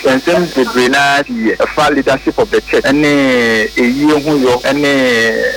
Nsɛm bebree no ara siiɛ ɛfa leadership of the church ne ayie ho yɔ ne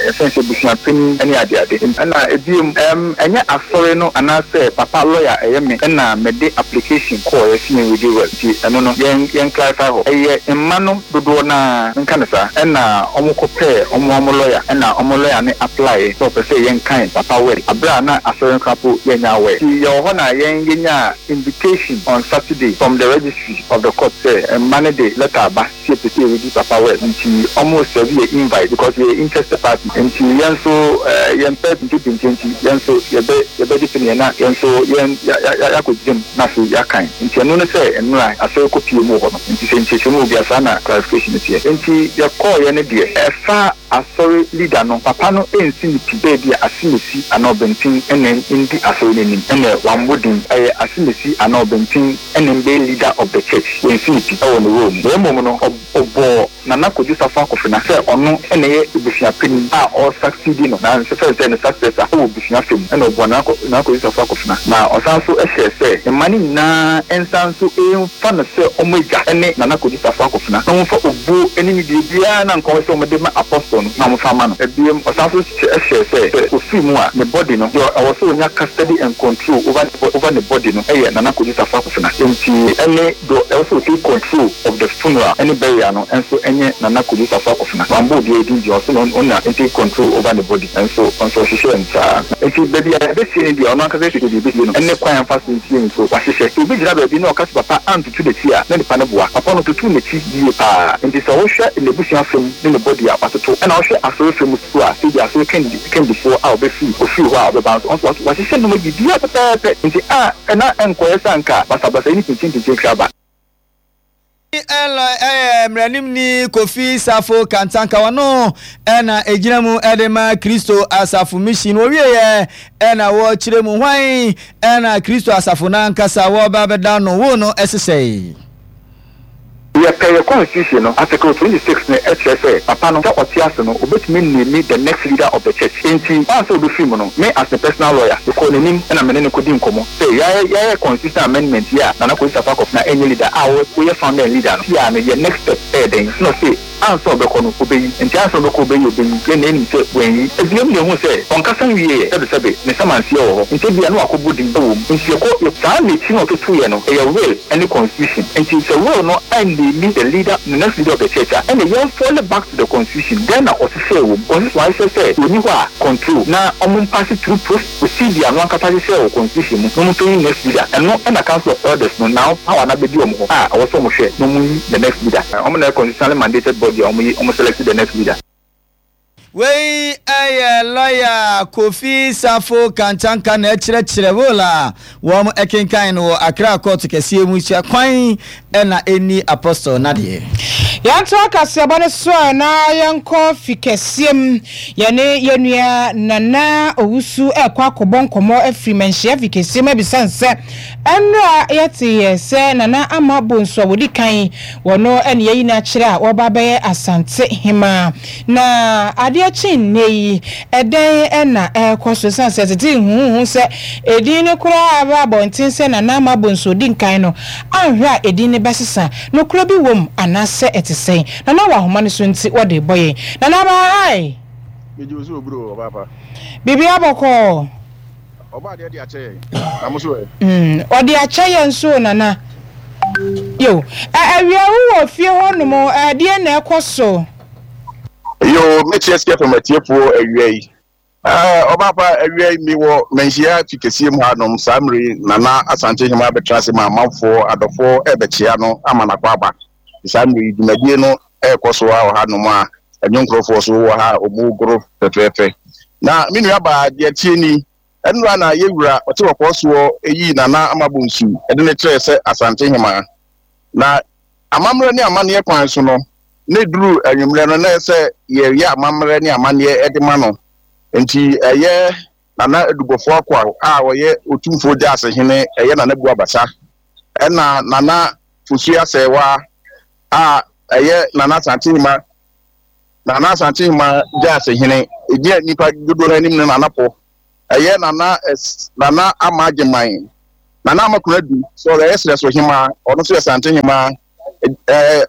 yɛfrɛ no sɛ abusuapanin ne adeade. Ɛna ɛbiom ɛm ɛnyɛ asɔre no anaasɛ papa lawyer ɛyɛ me na mede application kɔɔeɛ sɛ yɛn ready well nti ɛno no yɛn yɛn clarify hɔ. Ɛyɛ mma no dodoɔ no ara menka no saa ɛna wɔn kɔ pɛɛ wɔn wɔn lawyer ɛna wɔn lawyer no apply sɛ ɔpɛ sɛ yɛn kan papa well aberɛ a na asɔre no koraa po yɛnnya aware nti yɛwɔ hɔ na yɛn yɛnyaa invitation on Saturday from the registry of the court sɛ mma no de letter aba sɛ yɛpɛ sɛ yɛredi papa well nti ɔmo serve yɛ invite because yɛyɛ interested party nti yɛn nso yɛmpɛ pintepinte nti yɛn nso yɛbɛ yɛbɛgye peneɛ na yɛn nso yɛn ya ya yɛakɔ gyina mu na afei yɛakan nti ɛno ne sɛ nnora asɔre kɔ pie mu wɔ hɔ no nti sɛ nkyerɛkyerɛmu wɔ bia saa na clarification no teɛ nti yɛkɔɔyɛ no deɛ ɛfa Asɔre leader no, papa no nsi no pi sɛ ebia Asemesi anaa Ɔbɛnten na ndi asɔre no anim, ɛnna wammɔ din, ɛyɛ Asemesi anaa Ɔbɛnten na ɛbɛyɛ leader of the church, wansi no pi wɔ ne role mu. Na mmom no, ɔbɔɔ Nana Kwadwo Safo Akofena sɛ ɔno na ɛyɛ abusua panin a ɔresucceedi no, na nso sɛ ne successor wɔ abusua fɛ mu, ɛnna ɔbɔɔ Nana Kwadwo Safo Akofena, na ɔsan nso hyɛɛ sɛ mma no nyinaa nsan nso mfa no sɛ wɔn agya ne Nana Kwadwo Safo Akofena, na wɔmfa obuo ne nidie biara na anka ɔwɔ sɛ wɔde ma Apostle no na wɔmfa mma no. Biom, ɔsan nso hyɛɛ sɛ, sɛ ɔfiri mu a, ne body no, deɛ ɛwɔ sɛ ɔnya custody and control over over ne body no yɛ Nana Kwadwo Safo Akofena. Enti ɛne deɛ ɛwɔ sɛ ɔtake control of the funeral ne burial no nso nyɛ Nana Kwadwo Safo Akofena. Wammɔ obiara din deɛ, ɔse ɔno na ɔntake control over ne body, nanso ɔnso ɔhyehyɛɛ no saa. Enti baabi a yɛbɛsie no deɛ, ɔno ankasa hwehwɛ deɛ yɛbɛsie no ne kwan a ɛmfa so nsie nso, wahyehyɛ. Sɛ obi gyina baabi na ɔka sɛ papa antutu n'akyi a, na nipa no boa. Papa no tutuu n'akyi yie pa ara. Enti sɛ wohwɛ n'abusua fa mu ne ne body a, watoto. Ɛna wohwɛ asɔre fa mu nso a, sɛ ebia asɔre kandi, kandifoɔ a ɔbɛfiri, ɔfiri hɔ a ɔbɛba nso, ɔno nso wahyehyɛ nneɛma biribiara pɛpɛɛpɛ. Enti a na ɛnkɔyɛ sɛ anka basabasayɛ ne pinkyenpinkyen kra ba. Eloi yɛ mmaranimni Kofi Safo Kantanka. Ɔno na ɛgyina mu de ma Kristo Asafo Mission. Wɔwieɛ na wɔkyerɛ mu hwan na Kristo Asafo no ankasa wɔreba abɛda no wo no sesɛe. Yɛpɛ yɛ constitution no article 26 no kyerɛ sɛ papa no sɛ ɔte ase no obetumi name the next leader of the church enti ansa obefiri mu no me as ne personal lawyer mekɔɔ n'anim na me ne no kɔdii nkɔmmɔ sɛ yɛayɛ yɛayɛ constitutional amendment yi a Nana Kwesi Sarpong Akɔfena ɛnyɛ leader a woyɛ founder and leader no sia no yɛ next step ɛyɛ dɛn na ɔse Ansa ɔbɛkɔ no, obeyi. Enti ansa ɔbɛkɔ obeyi, obeyi. Yɛn nyinaa nim sɛ wanyi. Ebiem na ehu sɛ ɔnkasa nwieɛ, sɛbesɛbe, ne samanseɛ wɔ hɔ. Enti ebia na wakɔbɔ din wɔ mu. Enti yɛkɔ, yɛ. Saa n'akyi na ɔtotoeɛ no, ɛyɛ will ne constitution. Enti sɛ will no anname the leader, the next leader of the church a, ɛnna yɛn fall back to the constitution. Dɛn na ɔhyehyɛɛ wɔ mu? Constitution ahyehyɛ sɛ ɔnni hɔ a, control, na wɔmpasse through process. Procedure no ankasa hyehyɛɛ wɔ constitution mu na wɔn nyi next leader. Ɛno na council of elders no now power no abɛdi wɔn hɔ a ɛwɔ sɛ wɔn hwɛ na wɔn yi the next leader. Wɔn na ɛyɛ constitutionally mandated body a wɔn yi wɔn select the next leader. Wei yɛ lɔya Kofi Safo Kantanka na ɛkyerɛkyerɛ will a wɔn kenkan no wɔ Accra kɔɔto kɛseɛ mu sɛ kwan na ɛnni Apostle nadeɛ. Yɛntoa kaseɛbɔ no so a na yɛnkɔ fi kɛseɛ mu. Yɛne yɛn nua Nana Owusu rekɔ akɔbɔ nkɔmmɔ afiri Manhyia fi kɛseɛ mu abisa no sɛ, ɛnnora yɛteeɛ sɛ Nana Ama Bonsu a wɔdi kan wɔ no ne yɛayi no akyerɛ a wɔreba abɛyɛ Asante Hemaa. Na adeɛ kye nnɛ yi, ɛdɛn na ɛrekɔ so? Ɛsiane sɛ tete huhuhu sɛ edin no koraa aba abɔnten sɛ Nana Ama Bonsu ɔdi nkan no, anhwɛ a edin no bɛsesa. Nokorɛ bi wom anaasɛ ɛte sɛn? Nana wɔ ahoma no so nti wɔde rebɔ yɛn. Nana aba hi! Megye wo so oburo ɔbaa pa. Biribiara bɔkɔɔ. Ɔbaa deɛ de akyɛ yɛn. Na mo so ɛ? Mm, ɔde akyɛ yɛn nso o Nana. Yo, ɛ awia wo wɔ fie hɔ nom ɛdeɛn na ɛkɔ so? Yo, mɛkyia Sika FM atiefoɔ awia yi. Ɛɛ, ɔbaa pa, awia yi mewɔ Manhyia fi kɛseɛ mu hanom. Saa mmerɛ yi, Nana Asante Hemaa bɛtena ase ma amanfoɔ, adɔfoɔ rebɛkyea no ama no akɔ aba. Saa mmerɛ yi, dwumadie no rekɔ so ara wɔ hanom a nnwonkorɔfoɔ nso wɔ ha a wɔregoro fɛfɛɛfɛ. Na me nuabaa, deɛ ɛteɛ ni, ɛnnora na yɛn wura ɔte kɔkɔɔ soɔ yii Nana Ama Bonsu de no kyerɛɛ sɛ Asante Hemaa. Na amammerɛ ne amanneɛ kwan so no, na ɛduru anwummerɛ no, na ɛyɛ sɛ yɛyɛ amammerɛ ne amanneɛ de ma no. Enti ɛyɛ Nana Adubɔfoɔ Akwaw a ɔyɛ Otumfoɔ Gyaase hene, ɛyɛ Nana Buabasa, ɛna Nana Fosuo Asɛewa a ɛyɛ Nana Asantehema, Nana Asantehema Gyaase hene, ɛgyina nnipa dodoɔ no anim no Nana Po, ɛyɛ Nana Nana Ama Agyeman, Nana Ama Konadu, sɛ ɔyɛ Serɛso Hemaa, ɔno nso yɛ Asantehema. ɛɛ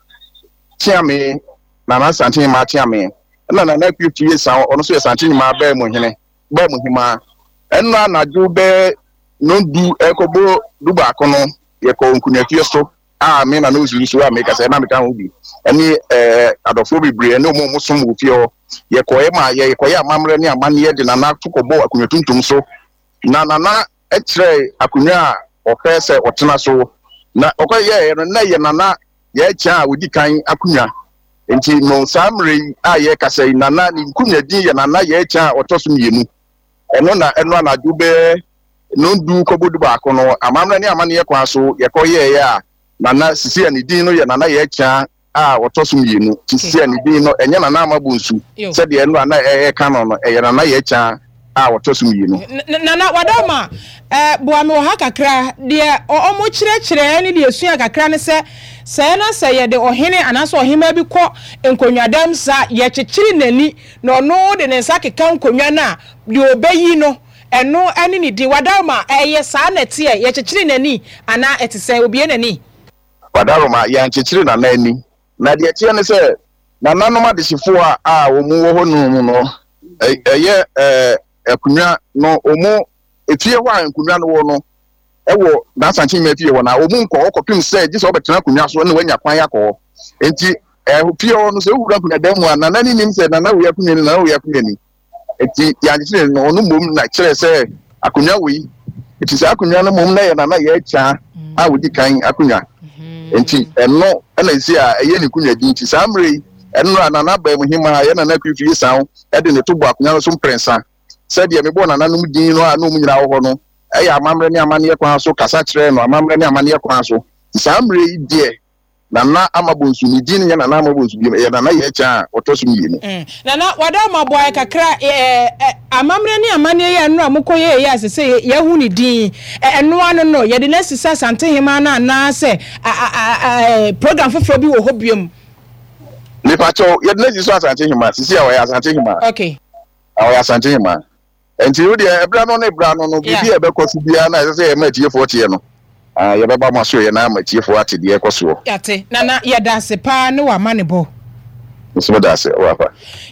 Kyeame, Nana Asantehemmaa Kyeame, ɛna Nana Akua Fie San, ɔno nso yɛ Asantehemmaa bɛɛ mu hene, bɛɛ mu hemaa. Ɛnna anadwo bɛɛ nnɔndu ɛrekɔbɔ dubaako no, yɛkɔɔ Nkunuafie so a me na na osu nso a meka sɛ na meka ho bi ɛne ɛɛ adɔfoɔ bebree ɛne wɔn a wɔsom wɔ fie hɔ. Yɛkɔɛ ma yɛkɔyɛ amammerɛ ne amanneɛ de Nana to kɔbɔɔ akonnwa tuntum so na Nana kyerɛɛ akonnwa a ɔpɛ sɛ ɔtena so na ɔkɔyɛɛ no na ɛyɛ Nana Yɛkyɛ a ɔdi kan akonnwa. Nti no saa mmerɛ yi a yɛrekasa yi Nana ne nkonnwa din yɛ Nana Yɛkyɛ a ɔtɔ so mmienu. Ɛno na ɛno anadwo bɛyɛ nnɔndu kɔbɔ dubaako no, amammerɛ ne amanneɛ kwan so yɛkɔyɛeɛ a Nana sisi a ne din no yɛ Nana Yɛkyɛ a ɔtɔ so mmienu. Nti sisi a ne din no ɛnyɛ Nana Ama Bonsu sɛdeɛ ɛno a na ɛreka no no, ɛyɛ Nana Yɛkyɛ a ɔtɔ so mmienu. Nana Wadama, eh, boa me wɔ ha kakra. Deɛ ɔ, wɔkyerɛkyerɛɛ ne deɛ ɛsua kakra ne sɛ, sɛɛ na sɛ yɛde ɔhene anaasɛ ɔhemmaa bi kɔ nkonnwadam saa a, yɛkyekyere n'ani na ɔno de ne nsa keka nkonnwa no a, deɛ ɔbɛyi no, ɛno ne ne din. Wadaroma, ɛyɛ saa na ɛteɛ? Yɛkyekyere n'ani anaa ɛte sɛn? Obue n'ani? Wadaroma, Yɛankyekyere Nana ani. Na deɛ ɛteɛ ne sɛ, nananom adehyefoɔ a a wɔn wɔ hɔ nom no, ɛyɛ ɛɛ akonnwa no, wɔn efie hɔ a nkonnwa no wɔ no, ɛwɔ N'Asankye fie hɔ na wɔn nkɔ hɔ kɔpem sɛ gye sɛ wɔbɛtena akonnwa so na wɔanya kwan akɔ hɔ. Enti ɛɛ fie hɔ no sɛ wowura akonnwa dan mu a, nana ne nim sɛ nana wei akonnwa ni, nana wei akonnwa ni. Enti yɛankyekyere no, ɔno mmom na kyerɛ sɛ akonnwa wei. Enti saa akonnwa no mmom na yɛ nana yɛ akya a ɔdi kan akonnwa. Enti ɛno na ɛsi a ɛyɛ ne nkonnwa din. Nti saa mmerɛ yi, ɛno a nana baa mu hemaa yɛ nana Akufie Saw de ne to bɔ akonnwa no so mprɛnsa. Sɛdeɛ mebɔɔ nananom din no a na wɔn nyinaa wɔ hɔ no, yɛ amammerɛ ne amanneɛ kwan so kasa kyerɛɛ no amammerɛ ne amanneɛ kwan so. Nti saa mmerɛ yi deɛ, Nana Ama Bonsu, ne din nyɛ Nana Ama Bonsu bio, ɛyɛ Nana Yɛkyɛ a ɔtɔ so mmienu. Nana, w'adaworoma boaeɛ kakra, amammerɛ ne amanneɛ yi a nnora mokɔ yɛeɛ yi a sesei yɛahu ne din, ɛno ano no, yɛde no asi sɛ Asantehemaa no anaa sɛ program foforɔ bi wɔ hɔ biom? Mepakyɛw, yɛde no asi sɛ Asantehemaa, sesei a ɔyɛ Asantehemaa. Okay. Na ɔyɛ Asantehemaa. Nti wo deɛ ɛberɛ ano ne berɛ ano no, biribi a ɛbɛkɔ so biara na ɛsɛ sɛ yɛma atiefoɔ teɛ no, yɛbɛba mo asoɛeɛ na ama atiefoɔ ate deɛ ɛrekɔ soɔ. Yɛate. Nana, yɛda ase paa ne w'amanebɔ. Me nso meda ase, Ɔwapa.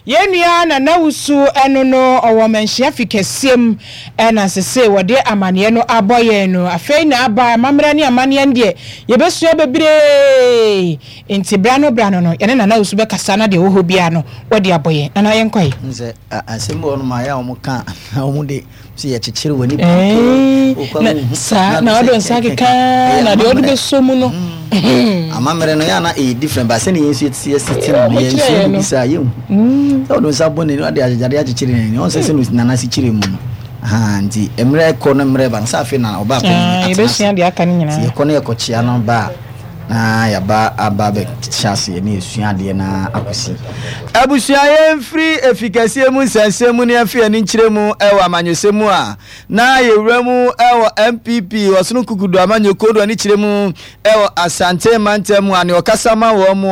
Yɛn nua Nana Wusu ɛno no ɔwɔ Manhyia fi kɛseɛ mu ɛna sesei wɔde amaneɛ no abɔ yɛn no. Afei na aba amammerɛ ne amaneɛ no deɛ yɛbɛsua bebree. Nti bra no bra no no yɛne Nana Owusu bɛkasa na deɛ ɛwɔ hɔ biara no wadi abɔ yɛn. Nana yɛnkɔ ɛ. N sɛ asɛm bi wɔ hɔnom a ɛyɛ a wɔn ka na wɔn de sɛ yɛkyekyere w'ani pii okɔ na saa na ɔde nsa keka na deɛ ɔde bɛsɔ mu no. Amammerɛ no yɛ ana ɛyɛ different ba sɛne yɛn nso yɛte yɛsi te no yɛn nso yɛn bi saa yɛn hu sɛ ɔde nsa bɔ n'ani ɔde agyegyadeɛ akyekyere n'ani ɔn sɛ sɛ nana si kyerɛ mu no nti mmerɛ kɔ no mmerɛ ba no sɛ afei na ɔbaa panyin atena ase nti yɛkɔ no yɛkɔkyea no ba a Na yɛaba aba abɛhyɛ aseɛ na yɛsua adeɛ no ara akɔsi. Abusua yɛmfiri efi kɛseɛ mu nsɛnsɛm mu na yɛmfa yɛn ani nkyerɛ mu wɔ amanyɔsɛm mu a na yɛwura mu wɔ NPP Ɔsono Kukudu amanyɔkuo do ani kyerɛ mu wɔ Asante mantam mu a nea ɔkasa ma wɔn mu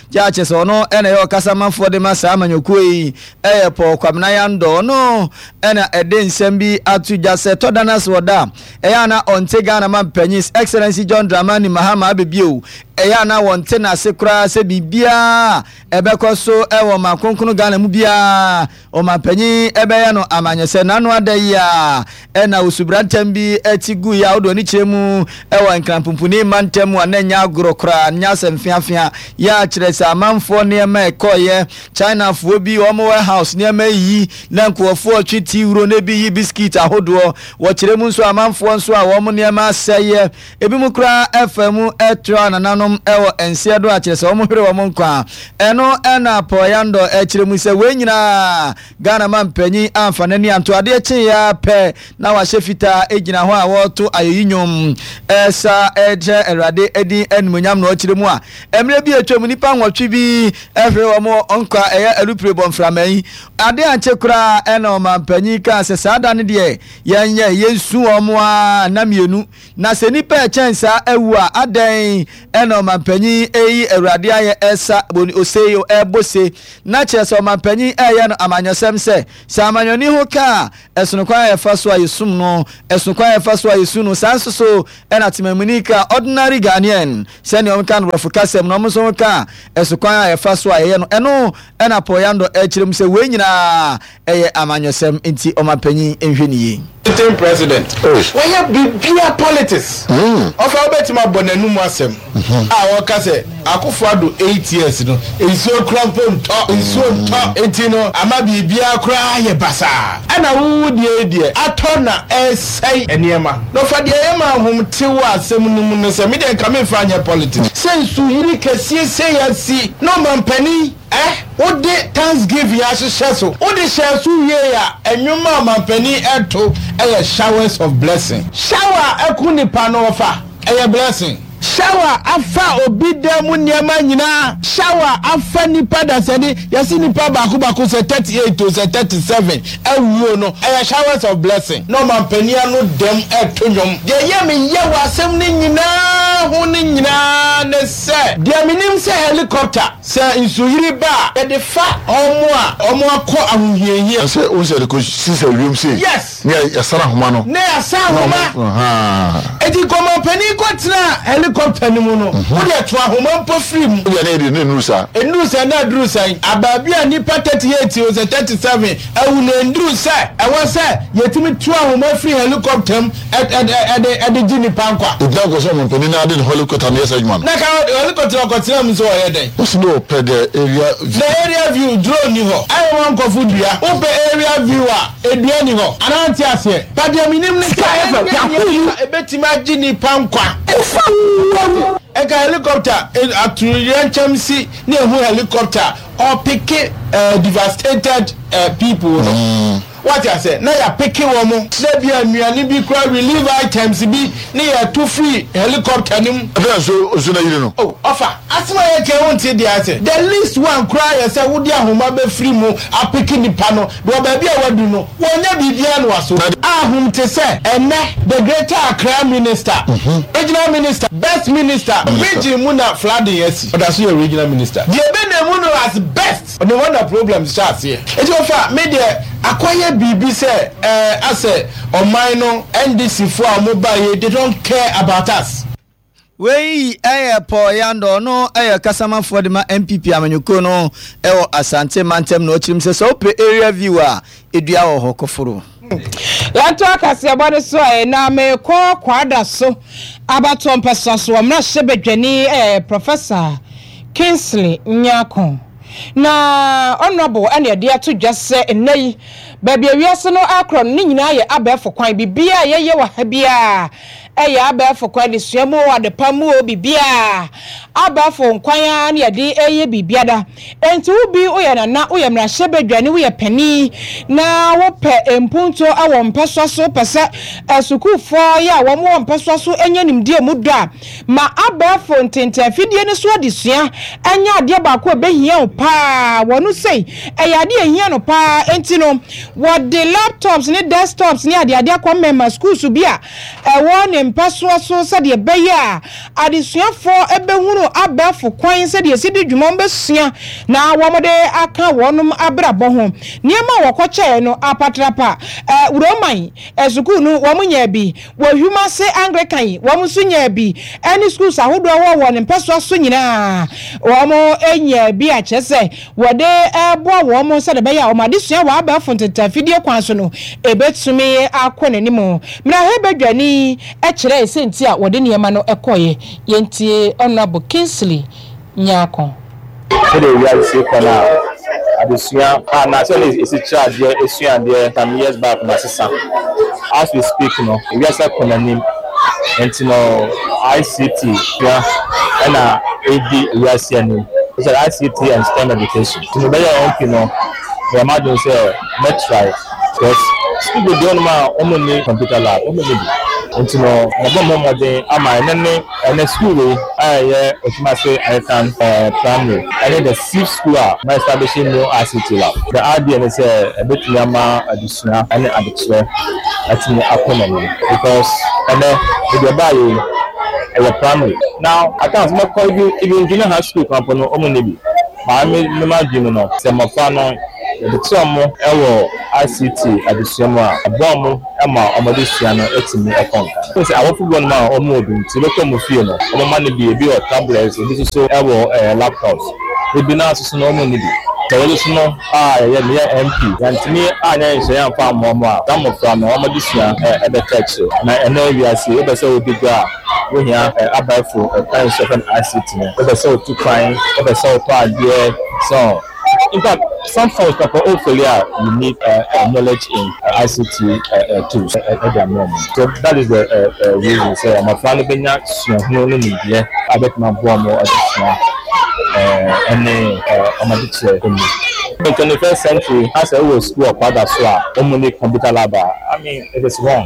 gya kyerɛ sɛ ɔno na ɛyɛ ɔkasamafoɔ de ma saa amanyɔkuo yi ɛyɛ Paul Kwabena Yandɔ ɔno na ɛde nsɛm bi ato dwa sɛ tɔ da no ase ɔda a Ɛyɛ a na ɔnte Ghana manpanyin His Excellency John Dramani Mahama abɛ bio. Ɛyɛ a na wɔnte n'ase koraa sɛ biribiara a ɛbɛkɔ so wɔ ɔman kronkron Ghana mu biara ɔmanpanyin bɛyɛ no amanyɔsɛ. N'ano ada yi ara na osubrantɛm bi ti guiɛ a wode w'ani kyerɛ mu wɔ Nkran Pumpuni mantam mu a na ɛnyɛ agorɔ koraa, nyɛ asɛm feafea. Yɛ a kyerɛ sɛ amanfoɔ nneɛma a ɛkɔeɛ, Chinafoɔ bi wɔn warehouse nneɛma yi na nkurɔfoɔ retwe tea wuro na ebi yi biscuit ahodoɔ. Wɔkyerɛ mu nso amanfoɔ nso a wɔn nneɛma asɛeɛ, ebinom koraa fa mu toa nananom wɔ nseɛ do a kyerɛ sɛ wɔhwere wɔn nkwa. Ɛno na Paul Yandor kyerɛ mu sɛ wei nyinaa Ghana manpanyin amfa n'ani anto adeɛ kyeeɛ ara pɛ na wahyɛ fitaa gyina hɔ a wɔreto ayeyi nnwom sa kyerɛ Awurade din animuonyam na ɔkyerɛ mu a mmerɛ bi a atwam nnipa nwɔtwe bi hwere wɔn nkwa ɛyɛ alupre bɔ mframa yi Ade ankye koraa na ɔmanpanyin kaa sɛ saa da no deɛ yɛnyɛ, yɛnsu wɔn ara nna mmienu. Na sɛ nnipa a ɛkyɛn saa awu a, adɛn na ɔmanpanyin reyi Awurade ayɛ resa ose yi rebɔ se, na kyerɛ sɛ ɔmanpanyin reyɛ no amanyɔsɛm sɛ, sɛ amanyɔni ho ka a, ɛsono kwan a yɛfa so a yɛsum no, ɛsono kwan a yɛfa so a yɛsu no, saa nso so na temamuni ka, ordinary Ghanaian, sɛnea wɔka no borɔfo kasa mu no, wɔn nso ho ka a, ɛso kwan a yɛfa so a yɛyɛ no. Ɛno na Paul Yandor rekyerɛ mu sɛ wei nyinaa ɛyɛ amanyɔsɛm nti ɔmanpanyin nhwɛ no yie. Sitting president wayɛ biribiaa politics ɔfa wobɛtumi abɔ n'anum asɛm a ɔka sɛ Akufo Addo 8 years no nsuo kora mpo ntɔ nsuo ntɔ nti no ama biribiaa koraa ayɛ basaa ɛna wo wo deɛ yi deɛ atɔ na ɛresɛe nneɛma na ɔfa deɛ ɛyɛ ma ahom te wɔ asɛm no mu no sɛ me deɛ nka memfa nyɛ politics sɛ nsuyiri kɛseɛ sei asi na ɔmanpanin Ɛ? Wode thanksgiving ahyehyɛ so? Wode hyɛɛ so wiei a, nnwom a ɔmanpanin reto yɛ showers of blessing. Shower a ɛko nipa no ɔfa, ɛyɛ blessing. Shower afa obi dan mu nneɛma nyinaa. Shower afa nipa dasani, yɛse nipa baako baako sɛ 38 o sɛ 37 awuo no, ɛyɛ showers of blessing. Na ɔmanpanin ano dɛm reto nnwom. Deɛ ɛyɛ me ya wɔ asɛm no nyinaa ho no nyinaa ne sɛ, deɛ menim sɛ helicopter. Sɛ nsuyiri ba a, yɛde fa wɔn a wɔakɔ ahohiahia. Sɛ wohu sɛ yɛde kɔ sisa wiem sei. Yes. Ne yɛasan ahoma no. Ne yɛasan ahoma. Ahaa. Eti nkɔmɔpanin kɔ tenaa helicopter no mu no, wo deɛ to ahoma mpo firi mu. Wo deɛ na yɛde no nnuru saa. Nnuru saa na aduru sɛn? Abaabi a nnipa 38 o sɛ 37 awu no, ɛnduru sɛ ɛwɔ sɛ yɛtumi to ahoma firi helicopter mu de de gye nnipa nkwa. Egyina kɔ sɛ ɔmanpanin no ara de ne helicopter no yɛ saa adwuma no. Na ka helicopter no ɔkɔtena mu nso ɔyɛ dɛn? Ɔsi na ɔpɛ the area view. The area view, drone nni hɔ. Ayɛ wɔn nkɔfo dua. Wopɛ area view a, dua nni hɔ. Anaa nte aseɛ? But deɛ menim ne sɛ ɛnyɛ nneɛma a ɛbɛtumi agye nnipa nkwa. Nka helicopter atoyerɛnkyɛm si na ehu helicopter ɔpeke devastated people no. Wate aseɛ? Na yɛapeke wɔn, na ebia nnuane bi koraa, relief items bi, ne yɛto firi helicopter no mu. Afei na nsuo nsuo no ayiri no. Oh, ɔfa, asɛm a yɛka yi wonte deɛ ase. The least one koraa yɛ sɛ wode ahoma bɛfiri mu apeke nipa no, wɔ baabi a wadu no, wɔnyɛ biribiara na waso. Ahom te sɛ ɛnnɛ the Greater Accra Minister, Regional Minister, Best Minister, region mu na flooding asi, ɔda so yɛ Regional Minister. Deɛ ɛbɛnam mu no as best. No wonder problems hyɛ aseɛ. Nti ɔfa me deɛ akɔyɛ biribi sɛ ɛɛ asɛ ɔman no NDC foɔ a wɔn baeɛ yi they don't care about us. Wei yɛ Paul Yandor, ɔno yɛ kasamafoɔ de ma NPP amanyɔkuo no wɔ Asante mantam na ɔkyerɛ mu sɛ sɛ wopɛ area view a, dua wɔ hɔ kɔforo. Yɛntoa kaseɛbɔ no so ɛ, na mekɔ Kwadaso abatoɔ mpɛsoa so wɔ mmarahyɛbadwani ɛ, Professor Kingsley Nyarko. Na Honourable ɛna ɛde ato dwa sɛ nnɛ yi, baabi a wiase no rekorɔ no, ne nyinaa yɛ abɛɛfo kwan. Biribiara a yɛyɛ wɔ ha biara ɛyɛ abɛɛfo kwan, adesua mu o, adepa mu o, biribiara abɛɛfo nkwan ara na yɛde reyɛ biribiara. Enti wo bi woyɛ nana, woyɛ mmarahyɛbadwani, woyɛ panin na wopɛ mpuntuo wɔ mpɛsoa so, wopɛ sɛ asukuufoɔ yɛ a wɔn wɔ mpɛsoa so nya nimdeɛ mu dɔ a, Ma abɛɛfo ntenten afidie no so adesua nyɛ adeɛ baako a ɛbɛhia wo pa ara. Wɔ no sei, ɛyɛ adeɛ a ɛhia no pa ara, enti no wɔde laptops ne desktops ne adeade akɔ mmɛma sukuusu bi a ɛwɔ ne mpɛsoɔ so sɛdeɛ ɛbɛyɛ a adesuafoɔ bɛhunu abɛɛfo kwan sɛdeɛ ɛsi di dwuma, wɔbɛsua na wɔde aka wɔn abrabɔ ho. Nneɛma a wɔkɔkyɛɛ no apatrapa, Roman sukuu no wɔnyaa bi. Wɔ Hwumase Anglican yi, wɔn nso nyaa bi, ɛne schools ahodoɔ a ɛwɔ wɔn mpɛsoa so nyinaa, wɔn nyaa bi a kyerɛ sɛ wɔde reboa wɔn sɛdeɛ ɛbɛyɛ a wɔn adesua wɔ abɛɛfo ntetafidie kwan so no ɛbɛtumi akɔ n'anim. Mmarahyɛbadwani kyerɛɛ sɛnti a wɔde nneɛma no kɔeɛ. Yɛntie Honourable Kingsley Nyarko. Sɛdeɛ wiase si rekɔ no a, adesua anaa sɛdeɛ yɛsi kyerɛ adeɛ, sua adeɛ some years back no asesa. As we speak no, wiase akɔ n'anim nti no ICT sua na ɛredi wiase anim. Especially ICT and STEM education. Nti mebɛyɛɛ MP no, meyɛɛ m'adwene sɛ mɛ try because sukuu bebree wɔ hɔnom a wɔnni computer lab, wɔnni bi. Nti no mabɔ me ho mmɔden ama ɛnnɛ ne Ɛnɛ sukuu wei a ɛyɛ Otumase Anglican Primary ɛne the sixth school a ma establish new ICT lab. The idea ne sɛ ɛbɛtumi ama adesua ɛne adekyerɛ atumi akɔ n'anim because ɛnɛ baabi ɛbaayɛ yi. Ɛyɛ primary. Now at times mɛkɔ even even junior high school koraa mpo no wɔn nni bi. Maa me me m'adwene mu no sɛ mmɔfra no yɛde kyerɛ wɔn wɔ ICT adesua mu a ɛboa wɔn ma wɔn adesua no tumi kɔ nkan. Wohu sɛ awofo bi wɔ hɔnom a wɔn wɔ bi nti wobɛkɔ wɔn fie no wɔn mma no bi ebi wɔ tablets ebi nso so wɔ ɛɛ laptops ebi no ara nso so no wɔn nni bi. Sɛ wɔn nso no a yɛyɛ meyɛ MP yɛantumi anyɛ nhyehyɛeɛ amfa amma wɔn a saa mmɔfra no wɔn adesua bɛka akyire. Na ɛnnɛ wiase yi wopɛ sɛ wodi dwa a wohia abɛɛfo kwan so yɛfrɛ no ICT no, wopɛ sɛ wotu kwan, wopɛ sɛ wotɔ adeɛ so in fact some forms papa o fail a you need knowledge in ICT tools ɛde ama wɔn. So that is the reason sɛ mmɔfra no bɛnya suahunu ne nimdeɛ a ɛbɛtumi aboa wɔn adesua ɛne wɔn adekyerɛ mu. In 21st century, na sɛ wowɔ sukuu wɔ Kwada so a wɔn nni computer lab a, I mean it is wrong.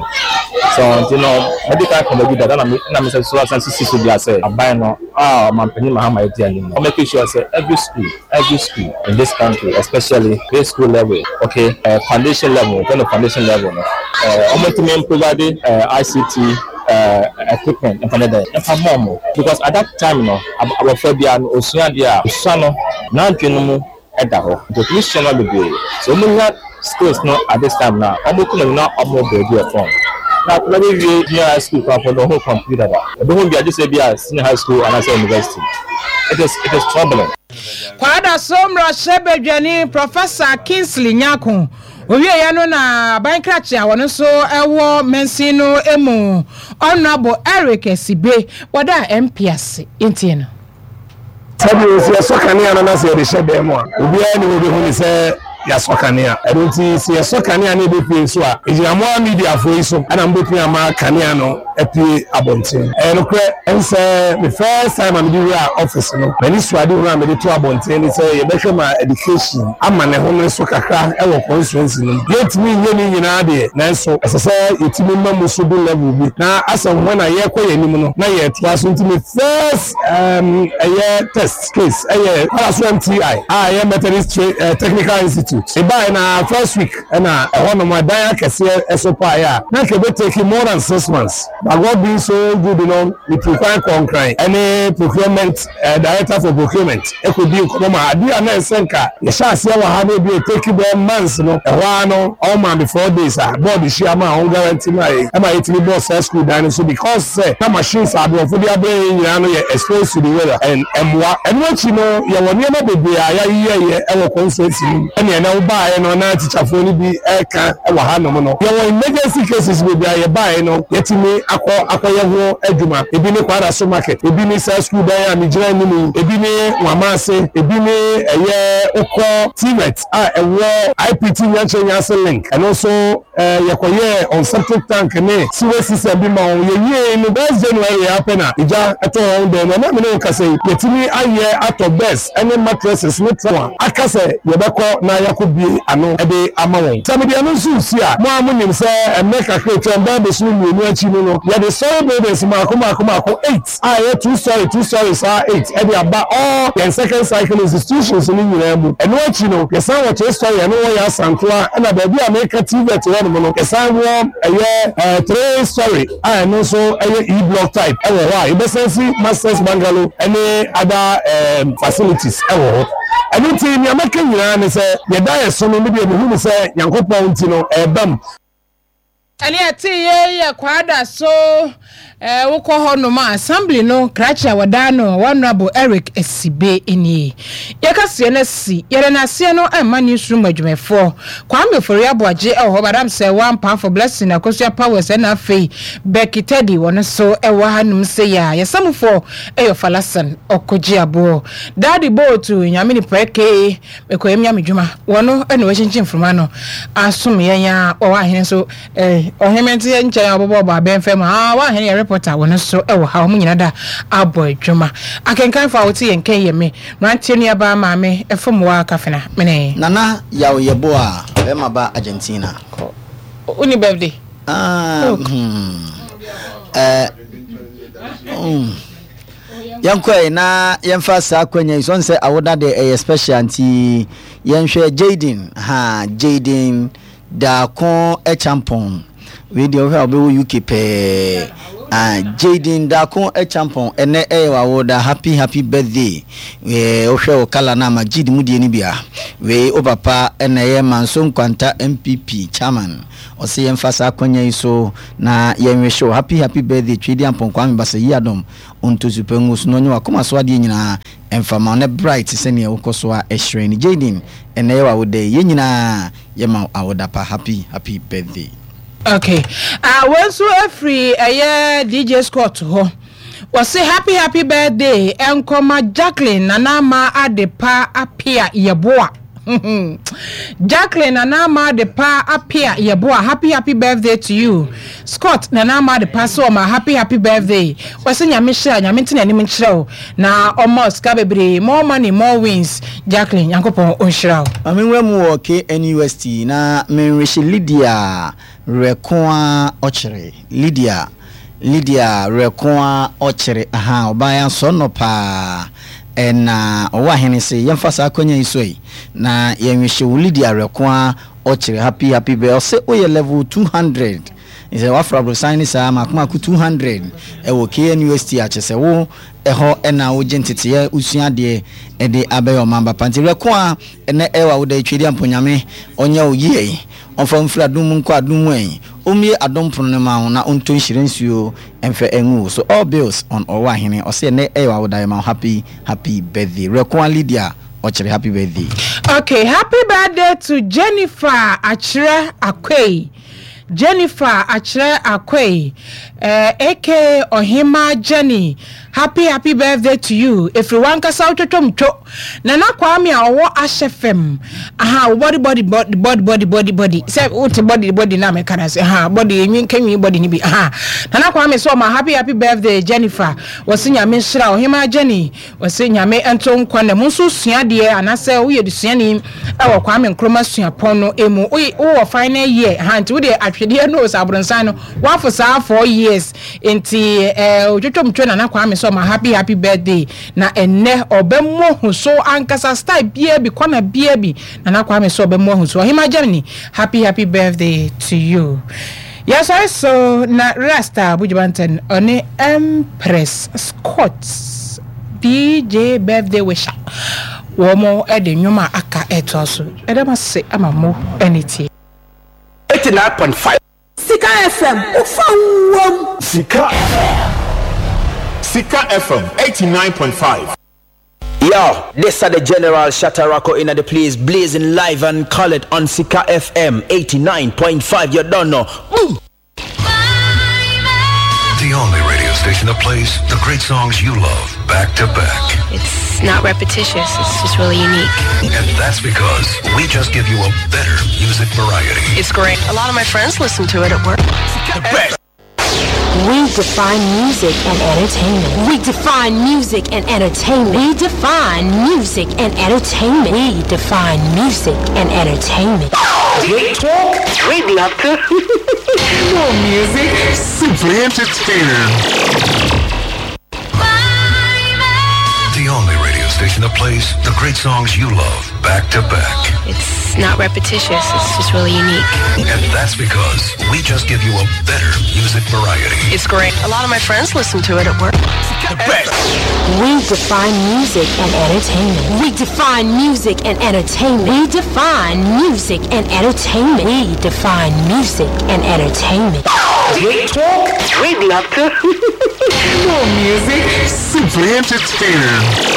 So nti no madi kan aka baabi dada na me na mesɛ so asan sisi so dua sɛ aban no a ɔmanpanyin Mahama adi anim no ɔmake sure sɛ every school every school in this country especially grade school level okay uh, foundation level yɛfrɛ no foundation level no uh, wɔntumi provide uh, ICT uh, equipment mfa ne dɛn mfa mma wɔn because at that time no abɔfra biara no osua adeɛ a osua no n'adwene no mu da hɔ nti otumi sua nneɛma bebree. Sɛ wɔn nya skills no at this time no a, wɔn kɔ n'anim na wɔn bɔ ebi wɔ fam. Na akwadaa bi wie junior high school koraa mpo no ɔho computer da. Ɔbɛhu bi a gye sɛ bi a senior high school anaasɛ university. It is it is troubling. Kwadaso mmarahyɛbadwani Professor Kingsley Nyarko owieɛ no na aban krakye a ɔno nso wɔ mansin no mu Honourable Eric Asibe wɔdaa MP ase. Yɛntie no. Sɛdeɛ sɛ yɛsɔ kanea no na sɛ yɛde hyɛ dan mu a, obiara nni hɔ bɛhu ne sɛ yɛasɔ kanea. Ɛno nti sɛ yɛsɔ kanea na ɛbɛpue nso a, ɛgyina mo ara mediafoɔ yi so na mobɛtumi ama kanea no apue abɔnten. Ɛyɛ nokorɛ sɛ me first time a mede wuraa office no, m'anisoadehunu a mede too abɔnten ne sɛ yɛbɛhwɛ ma education ama ne homene so kakra wɔ constituency no mu. Yɛntumi nyɛ ne nyinaa deɛ, nanso ɛsɛ sɛ yɛtumi ma mu so du level bi na asɛ when a yɛrekɔ yɛn anim no na yɛretoa so. Nti me first Um, ɛyɛ test case ɛyɛ Kwaraso MTI a ɛyɛ Methodist Tra eh, Technical Institute. Ebae na first week ɛna ɛhɔ nom ɛdan akɛseɛ ɛso paeɛ a na nka ebe take more than 6 months. But God being so good no, metu kwan kɔɔ Nkran ɛne procurement eh, director for procurement ɛkɔdi nkɔmmɔ ma adeɛ a na ɛsɛ nka yɛhyɛ aseɛ wɔ ha na ebi etake bɛɛ months no ɛhɔ ara no ɔma me 4 days a board hyia ma ɔn guarantee ma yɛ ɛma yɛtumi bɔɔ saa school dan no so because sɛ na machines a aborɔfo de abrɛ yɛn nyinaa no yɛ exposed to the weather and ɛmmoa. Ɛno akyi no, yɛwɔ nneɛma bebree a yɛayeyɛyɛ wɔ constituency no mu ɛne ɛnɛ wobaeɛ no na tikyafoɔ no bi reka wɔ hanom no. Yɛwɔ emergency cases bebree a yɛbaeɛ no yɛatumi akɔ akɔyɛ ho adwuma. Ebi ne Kwadaso market, ebi ne saa sukuu dan a megyina anim yi, ebi ne Nwamase, ebi ne ɛyɛ wokɔ TVET a ɛwɔ IPT Nyankyerɛ Nyanse link, ɛno nso Yɛkɔyɛɛ wɔn septic tank ne sewage system bi ma wɔn. Yɛwiei no, last January ara pɛ na egya tɔɔ wɔn dan mu. Ɛnnɛ a me ne wo kasa yi, yɛatumi ayɛ atɔ beds ne mattresses ne towel a aka sɛ yɛbɛkɔ na yɛakɔbue ano de ama wɔn. Sɛ mede ɛno nso resi a, mo ara monim sɛ mmerɛ kakra a atwam, bɛyɛ bosome mmienu akyi no no, yɛde story buildings mmaako mmaako mmaako eight a ɛyɛ two story two story saa eight de aba all yɛn second cycle institutions no nyinaa mu. Ɛno akyi no, yɛsan wɔ three story ɛno wɔ yɛn Asantoa ɛna baabi a meka TVET hɔ nom no, yɛsan wɔ ɛyɛ three story a ɛno nso ɛyɛ E block type ɛwɔ hɔ a yɛbɛsan si masters bungalow ɛne other facilities ɛwɔ hɔ. Ɛno nti nea mɛka nyinaa ne sɛ yɛda yɛ so no, me deɛ mehu no sɛ Nyankopɔn nti no ɛreba mu. Ɛne ɛteeɛ yi yɛ Kwada so eh, wokɔ hɔ nom a assembly no krakye a wɔdaa no Honourable Eric Asibe nie. Yɛka seɛ no asi, yɛde n'aseɛ no ɛma newsroom adwumayɛfoɔ. Kwame Ofori Aboagye ɛwɔ hɔ, Madam Sɛwa Ampaafo, Blessing Akosua Powers ɛna afei Becky Teddy wɔn nso ɛwɔ ha nom sei a. Yɛsamufoɔ ɛyɛ Ɔfalasan Ɔkogye Aboɔ. Daddy Bootu, Nyame Nipa aka Mekɔyɛ me nyamedwuma. Wɔno na wakyinkyin mframa no asom yɛn a wɔwɔ ahene nso eh, ɔhene mente yɛn nkyɛn a wɔbɔbɔbɔ abɛn fam a wɔn ahene yɛ reporter wɔn nso wɔ ha wɔn nyina da abɔ adwuma. Akenkanfo a wote yɛn nka yi yɛ me mmeranteɛ nuabaa maame Ɛfomwa Kafena mene. Nana Yaw Yeboah bɛrima ba Argentina. Kɔ. Wonni birthday? Ah, hmm. Eh, hmm. Yɛnkɔe na yɛmfa saa akwanya yi so ɔn sɛ awoda deɛ ɛyɛ special nti yɛnhwɛ Jayden ha Jayden Daako Acheampong wei deɛ wohwɛ a wobɛwɔ UK pɛɛ. Ah Jayden Darko Acheampong ɛnɛ ɛyɛ w'awoda happy happy birthday eh, wohwɛ wo kala no a Majid mu deɛ no bi a wei wo papa ɛna ɛyɛ Manso Nkwanta MPP chairman ɔse yɛmfa saa akwanya yi so na yɛnwehye wo happy happy birthday Twedi Ampong Kwame Basa yi adom ɔntɔ su pɛ ngu so na ɔnyɛ w'akoma so adeɛ nyinaa ɛmfa ma wo na bright sɛdeɛ wokɔ so a ɛhyerɛn no Jayden ɛnɛ ɛyɛ w'awoda yi yɛn nyinaa yɛma wo awoda pa happy happy birthday. Ok ah wei nso ɛfiri ɛyɛ DJ Scott hɔ wɔse happy happy birthday ɛnkɔma Jacqueline Nana Ama Adepa Apia Yeboah Jacqueline Nana Ama Adepa Apia Yeboah happy happy birthday to you Scott Nana Ama Adepa sɛ ɔma happy happy birthday wɔse nyame hyira nyame nte n'anim nkyerɛ wo na ɔma sika bebree more money more wins Jacqueline Nyankopɔn ɔnhyira wo. Ma menwura mu wɔ KNUST na menwehye Lydia Werɛkoa Ɔkyere Lydia Lydia Werɛkoa Ɔkyere ahaa ɔbaa yi asɔ nɔ paa ɛna ɔwɔ ahene se yɛmfa saa akwanya yi so yi na yɛnwehye wo Lydia Werɛkoa Ɔkyere happy happy birthday ɔse woyɛ level 200 sɛ wafra aborosan ne saa mako mako 200 ɛwɔ KNUST a kyesɛ wo ɛhɔ na wogye nteteɛ wosua adeɛ ɛde abɛyɛ ɔman ba pa nti werɛ ko a ɛnɛ ɛwɔ awoda yi Tweediampo Nyame ɔnyɛ wo yie yi ɔmfa wo mfiri adom mu nkɔ adom mu ɛyi ɔmmue adom pono no ma wo na ɔntɔ nhyira nsuo ɛmfɛ ɛngu wo so all bills on ɔwɔ ahene ɔse ɛnɛ ɛyɛ w'awoda yɛma wo happy happy birthday werɛ ko a Lydia ɔkyere happy birthday. Okay, happy birthday to Jennifer Akyerɛ Akwei. Jennifer Akyerɛ Akwei eh, aka Ɔhemaa Jenny, happy happy birthday to you, ɛfiri w'ankasa wo twotwom two, Nana Kwame a ɔwɔ Ahyɛ fam, aha wo body body body body body body body, sɛ wote body body na meka no ase, aha body enwi nka nwi body no bi, aha Nana Kwame sɛ ɔma happy happy birthday Jennifer, wɔse Nyame nhyira Ɔhemaa Jenny. Ɔse Nyame nto nkwa nna mu nso sua adeɛ anasɛ woyɛ desuani wɔ Kwame Nkrumah suapɔn no mu wowɔ final year ha nti wodeɛ atwedeɛ no sɛ abronsan no wafo saa 4 years nti eh, otwotwomtwo Nana Kwame sɛ ɔma happy happy birthday na ɛnnɛ ɔbɛmmɔ hu so ankasa style biaa bi kɔna biaa bi Nana Kwame sɛ ɔbɛmmɔ hu so Ɔhema Germany happy happy birthday to you. Yɛsɔre so na Rasta Buju Banton ɔne Empress Scott DJ Birthday Wisher wɔn de nnwom a aka ɛtoa so. Ɛda mo ase ama mo ani tie. 89.5. Sika FM, wofa wam. Sika Sika FM 89.5. Yo, this are the General Shatarako in the place, blazing live and call it on Sika FM 89.5. You don't know. Boom! The only radio station that plays the great songs you love back to back. It's not repetitious, it's just really unique. And that's because we just give you a better music variety. It's great. A lot of my friends listen to it at work. The best. We define music and entertainment. We define music and entertainment. We define music and entertainment. We define music and entertainment. Great talk. We'd love to. More music. Simply entertaining. The only radio station that plays the great songs you love back to back. It's not repetitious, it's just really unique. And that's because we just give you a better music variety. It's great. A lot of my friends listen to it at work. The best. We define music and entertainment. We define music and entertainment. We define music and entertainment. We define music and entertainment. Great talk. We'd love to. More music. Simply entertaining.